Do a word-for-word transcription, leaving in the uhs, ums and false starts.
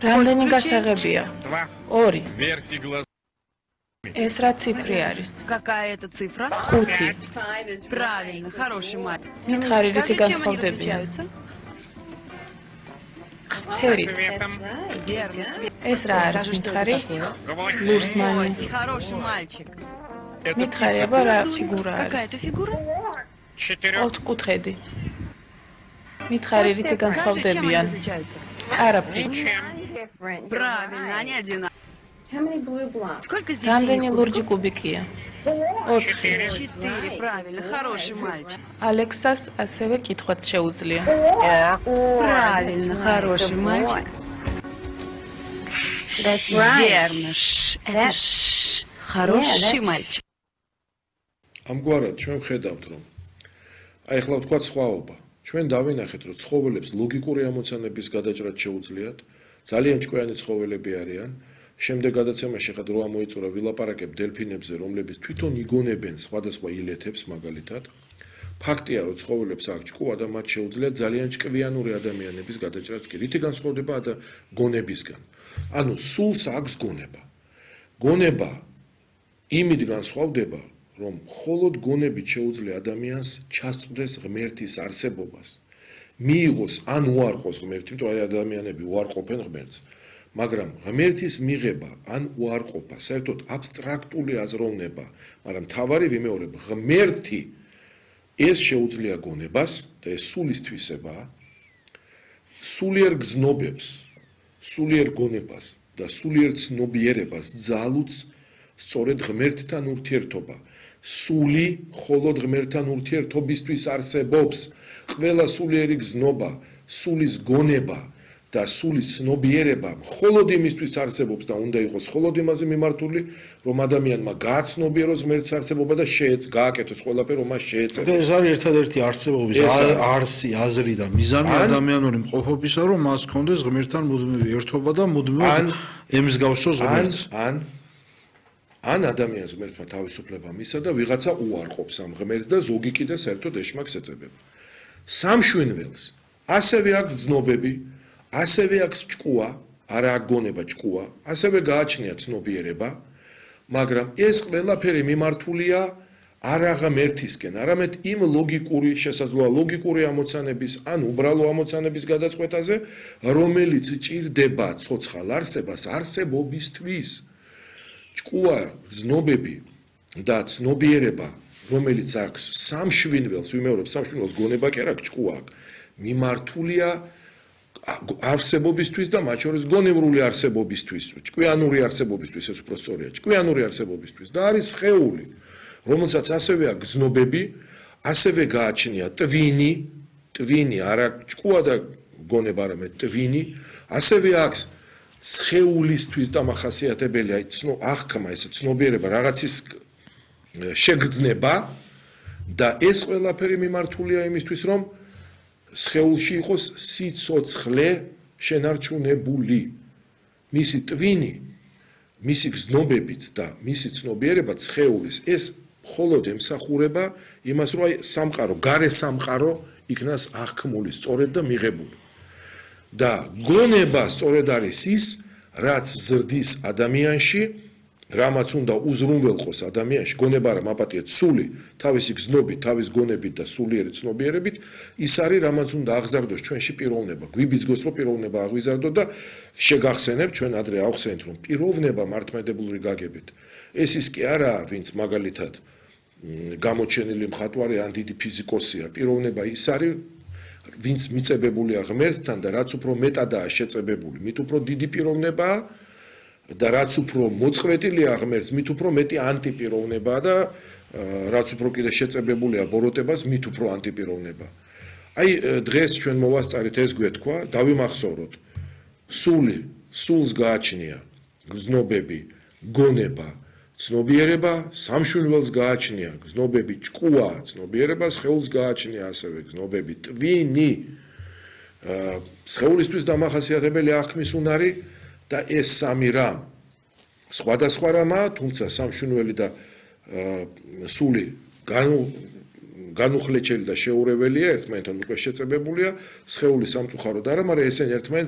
რამდენი გასაღებია? ორი. Верьте глазами. ეს რა ციფრი არის? Какая это цифра? ხუთი. Правильно, хороший мальчик. მითხარი რითი Скажи, чем они განსხვავდებიან? различаются? ფერით. Цветом. Верно, цвет. ეს რა არის Скажи, что მითხარი? это такое? Гвоздь. ლურსმანი. Гвоздь, хороший мальчик. Это მითხარი птица. აბა რა ფიგურა Какая არის? это фигура? Четырех. ოთხკუთხედი. მითხარი რითი Скажи, чем они განსხვავდებიან? различаются? არაფრით. Ничем. Правильно, они одинаковые. Сколько здесь რამდენი синих ლურჯი кубиков? კუბიკია? ოთხი. Четыре. Четыре, правильно, хороший мальчик. ალექსას ასევე კითხვაც შეუძლია. Правильно, хороший мальчик. Верно, ш, это ш, хороший мальчик. ამგვარად ჩვენ ვხედავთ რომ აი ახლა ვთქვათ სხვაობა. ჩვენ დავინახეთ რომ ცხოველებს ლოგიკური ამოცანების გადაჭრა შეუძლიათ, ძალიან ჭკვიანი ცხოველები არიან. შემდეგ გადაცემაში ხა დრო ამოიწურა ვილაპარაკებ დელფინებზე, რომლებიც თვითონ იგონებენ სხვადასხვა ილეთებს მაგალითად. ფაქტია რომ ცხოველებს აქვს ჭკუა და მათ შეუძლიათ ძალიან ჭკვიანური ადამიანების გადაჭრაც კი. რითი განსხვავდება და გონებისგან? ანუ სულს აქვს გონება. გონება იმით განსხვავდება, რომ მხოლოდ გონებით შეუძლია ადამიანს ჩასწვდეს ღმერთის არსებობას. მიიღოს ან უარყოს ღმერთი, იმიტომ რომ ადამიანები უარყოფენ ღმერთს. მაგრამ ღმერთის მიღება ან უარყოფა საერთოდ აბსტრაქტული აზროვნება, მაგრამ თავარი ვიმეორებ, ღმერთი ეს შეუძლია გონებას და ეს სულის თვისებაა. სულიერ გზნობებს, სულიერ გონებას და სულიერ ცნობიერებას ძალუც სწორედ ღმერთთან ურთიერთობა. სული მხოლოდ ღმერთთან ურთიერთობისთვის არსებობს. ყველა სულიერი გზნობა, სულის გონება და სულის ცნობიერება მხოლოდ იმისთვის არსებობს და უნდა იყოს მხოლოდ იმაზე მიმართული, რომ ადამიანმა გააცნობიეროს ღმერთის არსებობა და შეეც გააკეთოს ყველაფერი, რომ მას შეეწევოს. ეს არის ერთადერთი არსებობის არსი, აზრი და მიზანი ადამიანური მყოფობისა, რომ მას ჰქონდეს ღმერთთან მუდმივი ერთობა და მუდმივად ემსგავსოს ღმერთს. ან ან ადამიანს ღმერთმა თავისუფლება მისცა და ვიღაცა უარყოფს ამ ღმერთს და ზოგი კიდე საერთოდ ეშმაკს ეწებება. სამშვენველს ასევე აქვს ძნობები, ასევე აქვს ჭკუა, არა აგონება ჭკუა, ასევე გააჩნია ცნობიერება, მაგრამ ეს ყველაფერი მიმართულია არა ღმერთისკენ, არამედ იმ ლოგიკური, შესაძლოა ლოგიკური ამოცანების, ან უბრალო ამოცანების გადაწყვეტაზე, რომელიც ჭირდება ცოცხალ არსებას არსებობისთვის. ჭკუა, ზნობები და ცნობიერება, რომელიც აქვს სამშვენველს, ვიმეორებ, სამშვენველს გონება კი არა, ჭკუა აქვს, მიმართულია არსებობისთვის და მათ შორის გონევრული არსებობისთვის, ჭკვიანური არსებობისთვის, ეს უფრო სწორია, ჭკვიანური არსებობისთვის და არის სხეული, რომელსაც ასევე აქვს ზნობები, ასევე გააჩნია ტვინი, ტვინი, არა ჭკუა და გონება, არამედ ტვინი, ასევე აქვს სხეულისთვის დამახასიათებელი, აი ცნო აღქმა, ეს ცნობიერება, რაღაცის შეგრძნება და ეს ყველაფერი მიმართულია იმისთვის, რომ სხეულში იყოს სიცოცხლე შენარჩუნებული. მისი ტვინი, მისი გზნობებიც და მისი ცნობიერება სხეულის ეს მხოლოდ ემსახურება იმას, რომ აი სამყარო, გარე სამყარო იქნას აღქმული, სწორედ და მიღებული. და გონება სწორედ არის ის, რაც ზრდის ადამიანში, რამაც უნდა უზრუნველყოს ადამიანში, გონება რა მაპატიეთ სული, თავისი გზნობით, თავის გონებით და სულიერი ცნობიერებით, ის არის, რამაც უნდა აღზარდოს ჩვენში პიროვნება. გვიბიძგოს, რომ პიროვნება აღვიზარდო და შეგახსენებ, ჩვენ ადრე ავხსენეთ, რომ პიროვნება მართლმადიდებლური გაგებით. ეს ის კი არაა, ვინც მაგალითად გამოჩენილი მხატვარი ან დიდი ფიზიკოსია. პიროვნება ის არის, ვინც მიწებებულია ღმერთთან და რაც უფრო მეტადაა შეწებებული, მით უფრო დიდი პიროვნებაა და რაც უფრო მოწყვეტილია ღმერთს, მით უფრო მეტი ანტიპიროვნებაა და რაც უფრო კიდე შეწებებულია ბოროტებას, მით უფრო ანტიპიროვნებაა. აი დღეს ჩვენ მოვასწარით ეს გვეთქვა, დავიმახსოვროთ. სული, სულს გააჩნია გზნობები, გონება, ცნობიერება, სამშვენველს გააჩნია გზნობები, ჭკუა, ცნობიერება, სხეულს გააჩნია ასევე გზნობები, ტვინი. სხეულისთვის დამახასიათებელი აღქმის უნარი და ეს სამი რამ სხვადასხვა რამაა, თუმცა სამშვენველი და სული განუხლეჭელი და შეურეველია, ერთმანეთთან უკვე შეწებებულია, სხეული სამწუხაროდ არა, მაგრამ ესენი ერთმანეთს